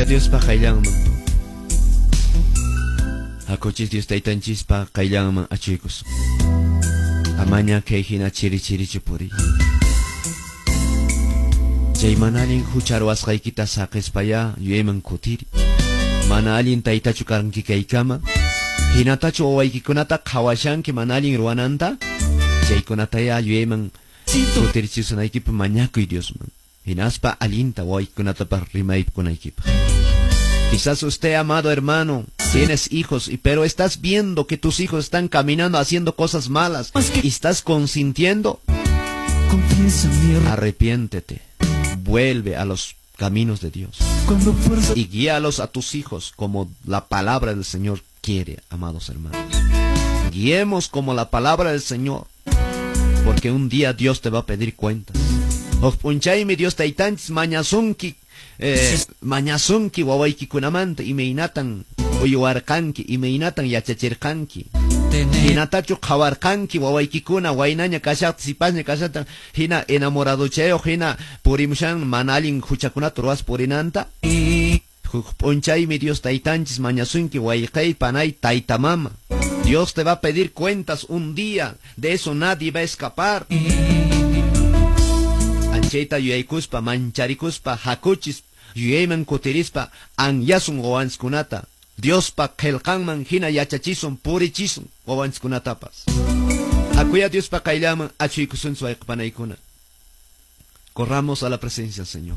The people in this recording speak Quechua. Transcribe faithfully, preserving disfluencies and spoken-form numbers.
Hakuya Diospa qayllanman. Hakuchis Dios taytanchispa qayllanman achuykusun. Amaña kay hina chiri chirichu puriy. Chay mana allin hucha ruwasqaykita saqispaya yuyayman kutiri. Mana allin taytachu kanki kaykama. Hinatachu wawaykikunata qhawashanki mana allin ruwananta. Chaykunataya yuyayman kutirichisunaykipaq mañakuy Diosman. Hinaspa allinta wawaykikunatapas rimaykunaykipaq. Quizás usted, amado hermano, tienes hijos, y pero estás viendo que tus hijos están caminando haciendo cosas malas y estás consintiendo. Confiesa mi error. Arrepiéntete. Vuelve a los caminos de Dios Cuando fuerza y guíalos a tus hijos como la palabra del Señor quiere, amados hermanos. Guiemos como la palabra del Señor, porque un día Dios te va a pedir cuentas. Huk p'unchaymi Dios taytanchis mañasunki, eh, mañasunki wawaykikunamanta imaynatan uywarqanki, imaynatan yachachirqanki. tener Hinatachu qhawarqanki wawaykikuna waynaña kashaqta sipasña kashaqta hina enamoradochayuq hina purimushan mana allin huchakunata ruwas purinanta. Huk p'unchaymi Dios taytanchis mañasunki wayqay panay tayta mama. Dios te va a pedir cuentas un día, de eso nadie va a escapar. Anchayta yuyaykuspa mancharikuspa hakuchis yuyayman kutirispa anyasun wawanchiskunata. Diospa qillqanman hina yachachisun purichisun wawanchiskunatapas. Hakuya Diospa qayllaman achuykusunchis wayqipanaykuna. Corramos a la presencia del Señor.